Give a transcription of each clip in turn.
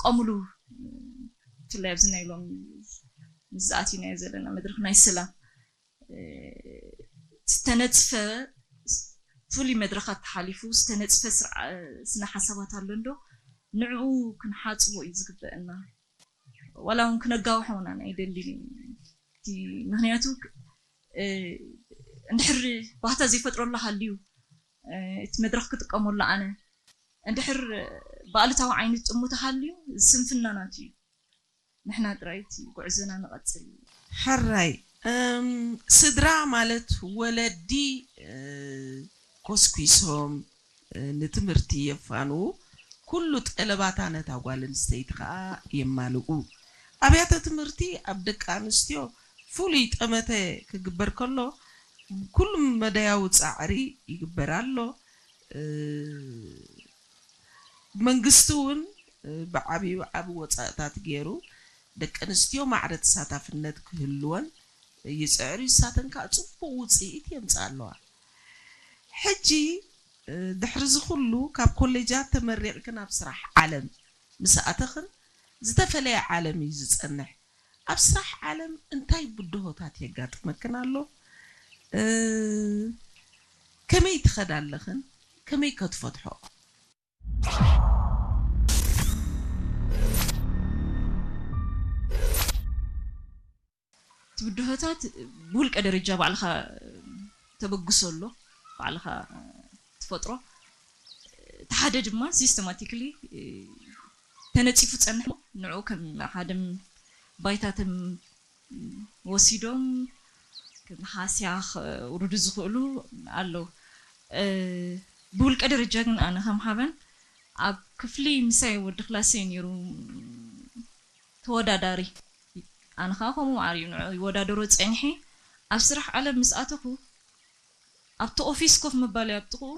ክጥቀምሉ፣ ብፍላይ ኣብዚ ናይ ሎሚ ምስ ዝኣትናዮ ዘለና መድረኽ ናይ ሰላም ዝተነፅፈ ፍሉይ መድረኻት ተሓሊፉ ዝተነፅፈ ስርዓ- ስነ ሓሳባት ኣሎ እንዶ ንዕኡ ክንሓፅቦ እዩ ዝግበአና። ዋላ እውን ክነጋውሖ እውን ኣይደልን። እቲ ምክንያቱ እ፣ እንድሕር ባህታ ዘይፈጥረሉ ሃልዩ እ፣ እቲ መድረኽ ክጥቀመሉ ኣነ እንድሕር ብኣሉታዊ ዓይኒ ጥሙ ተሃልዩ ስንፍና ናቱ እዩ። ንሕና ጥራይ እቲ ጉዕዞና ንቐጽል። ሕራይ እም፣ ስድራ ማለት ወለዲ እ፣ ኮስኲሶም እ፣ ንትምህርቲ የፋንዉ፣ ኩሉ ጠለባታ ነታ ጓል ኣንስተይቲ ከኣ የማልኡ። ኣብያተ ትምህርቲ ኣብ ደቂ ኣንስትዮ ፍሉይ ጠመተ ክግበር ከሎ ኩሉ መዳያዊ ጻዕሪ ይግበር ኣሎ። እ፣ መንግስቲ እውን እ፣ ብዓብዩ ዓቢ ወጻእታት ገይሩ ደቂ ኣንስትዮ ማዕረ ተሳታፍነት ክህልወን ይጽዕር እዩ። ንሳተን ከኣ ጽቡቕ ውጽኢት የምጽኣ ኣለዋ። ሕጂ እ፣ ድሕሪ እዚ ኩሉ ካብ ኮሌጃት ተመሪቕክን ኣብ ስራሕ ዓለም ምስ ኣተኽን ዝተፈለየ ዓለም እዩ ዝጸንሕ። ኣብ ስራሕ ዓለም እንታይ ብድሆታት የጋጥመክን ኣሎ? እ፣ ከመይ ትኸዳ ኣለኽን? ከመይ ከ ትፈትሖ? እቲ ብድሆታት ብውልቀ ደረጃ ባዕልኻ ተበግሶ ኣሎ፣ ባዕልኻ ትፈጥሮ። እቲ ሓደ ድማ ሲስተማቲክሊ ተነፂፉ ዝፀንሕ ንዑ ከም ሓደ ባይታ ተም ወሲዶም ከም ሃስያ ከውርዱ ዝኽእሉ ኣለዉ። እ፣ ብውልቀ ደረጃ ግን ኣነ ከም ሓበን ኣብ ክፍሊ ምሳይ ወዲ ክላሰይ ነይሩ ተወዳዳሪ። ኣነ ከዓ ከምኡ ማዕረ እዩ ንዑ ይወዳደሮ ፀኒሐ። ኣብ ስራሕ ዓለም ምስ ኣተኹ ኣብቲ ኦፊስ ኮፍ ምባል ኣብ ጥቕኡ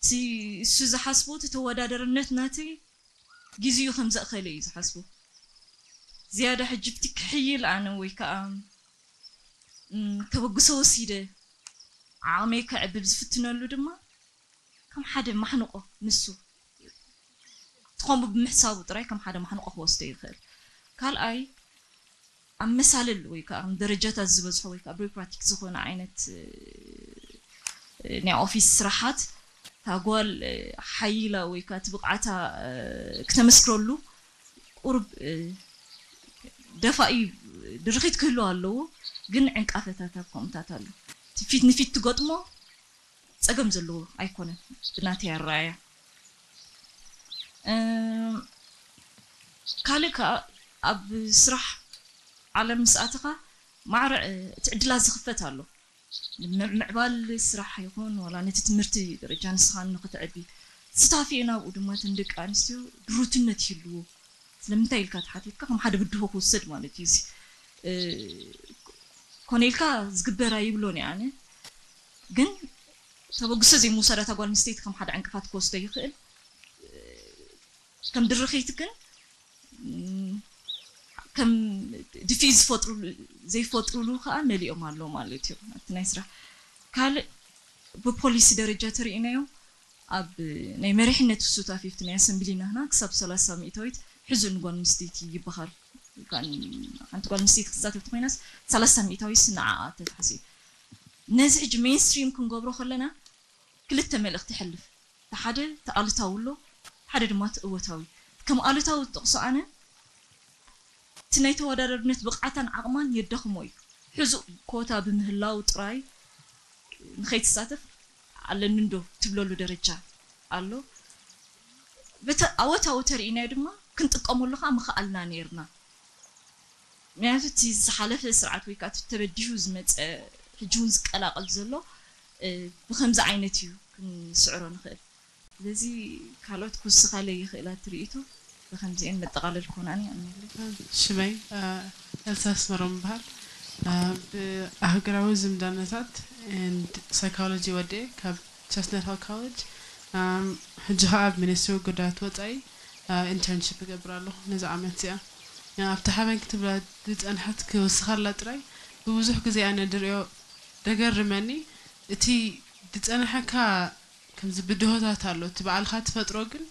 እቲ እሱ ዝሓስቦ እቲ ተወዳደርነት ናተይ ግዜኡ ከም ዘእኸለ እዩ ዝሓስቦ። ዝያዳ ሕጂ ብቲ ክሕይል ኣነ ወይ ከዓ እም፣ ተበግሶ ወሲደ ዓቕመይ ከዕብብ ዝፍትነሉ ድማ ከም ሓደ ማሕንቆ ንሱ እቲ ከምኡ ብምሕሳቡ ጥራይ ከም ሓደ ማሕንቆ ክወስዶ ይኽእል። ካልኣይ ኣብ መሳልል ወይ ከዓ ደረጃታት ዝበዝሖ ወይ ከዓ ቢሮክራቲክ ዝኾነ ዓይነት እ፣ ናይ ኦፊስ ስራሓት እታ ጓል እ፣ ሓይላ ወይ ከዓ እቲ ብቕዓታ እ፣ ክተመስክረሉ ቁሩብ እ፣ ደፋኢ ድርኺት ክህልዎ ኣለዎ። ግን ዕንቃፈታት ኣብ ከምኡታት ኣሎ። እቲ ፊት ንፊት ትገጥሞ ፀገም ዘለዎ ኣይኮነን ብናተይ ኣረኣእያ። እም፣ ካልእ ከዓ ኣብ ስራሕ ዓለም ምስ ኣተኻ ማዕረ እ፣ እቲ ዕድላት ዝኽፈት ኣሎ። ም- ምዕባል ስራሕ ይኹን ዋላ ነቲ ትምህርቲ ደረጃ ንስኻ ንኽትዕቢ ስታፊ ናብኡ ድማ እተን ደቂ ኣንስትዮ ድሩትነት ይህልዎ። ስለምንታይ ኢልካ ተሓቲትካ ከም ሓደ ብድሆ ክውሰድ ማለት እዩ። እዚ እ፣ ኮነ ኢልካ ዝግበር ኣይብሎን እየ ኣነ። ግን ተበግሶ ዘይምውሳድ እታ ጓል ኣንስተይቲ ከም ሓደ ዕንቅፋት ክወስዶ ይኽእል። ከም ድርኺት ግን ም፣ ከም ድፊት ዝፈጥሩሉ ዘይፈጥሩሉ ከዓ መሊኦም ኣለዉ ማለት እዩ ኣብቲ ናይ ስራሕ። ካልእ ብፖሊሲ ደረጃ ተሪኢናዮ ኣብ ናይ መሪሕነት ሱታፌ ኣብቲ ናይ ኣሰምብሊ ናህና ክሳብ ሰላሳ ሚእታዊት ሕዚ ንጓል ኣንስተይቲ ይበሃል። ሓንቲ ጓል ኣንስተይቲ ክትሳተፍ ተኮይናስ ሰላሳ ሚእታዊት ንዓኣ ተታሕሲ። ነዚ ሕጂ ሜንስትሪም ክንገብሮ ከለና ክልተ መልእኽቲ ይሕልፍ። እቲ ሓደ እቲ ኣሉታዊ ኣሎ፣ ሓደ ድማ እቲ እወታዊ። ከም ኣሉታዊ ዝጠቕሶ ኣነ እቲ ናይ ተወዳዳርነት ብቕዓታን ዓቕማን የዳኽሞ እዩ። ሕዙእ ኮታ ብምህላው ጥራይ ንኸይትሳተፍ ኣለኒ እንዶ ትብለሉ ደረጃ ኣሎ። በተ ኣወታዊ ተርኢናዮ ድማ ክንጥቀመሉ ከዓ ምኽኣልና ነይርና። ምክንያቱ እቲ ዝሓለፈ ስርዓት ወይ ከዓ እቲ ተበዲሁ ዝመፀ ሕጂ እውን ዝቀላቐል ዘሎ እ፣ ብከምዚ ዓይነት እዩ ክንስዕሮ ንኽእል። ስለዚ ካልኦት ክውስኻለይ ይኽእላ እቲ ርእይቶ ብከምዚአን መጠቓለል ክኾናኒ ኣምነለይ። ሽመይ ኤልሳ ኣስመሮም ይበሃል። ብኣህጉራዊ ዝምዳነታት and psychology ወዲኤ ካብ ቸስትነት ሂል ኮሌጅ፣ ሕጂ ከዓ ኣብ ሚኒስትሪ ጉዳያት ወፃኢ ኢንተርንሽፕ እገብር ኣለኹ ነዚ ዓመት እዚኣ። ኣብቲ ሓበን ክትብላ ዝፀንሐት ክውስኻላ ጥራይ ብብዙሕ ግዜ ኣነ ድሪኦ ደገርመኒ እቲ ዝፀንሐካ ከምዚ ብድሆታት ኣሎ እቲ ባዕልኻ ትፈጥሮ ግን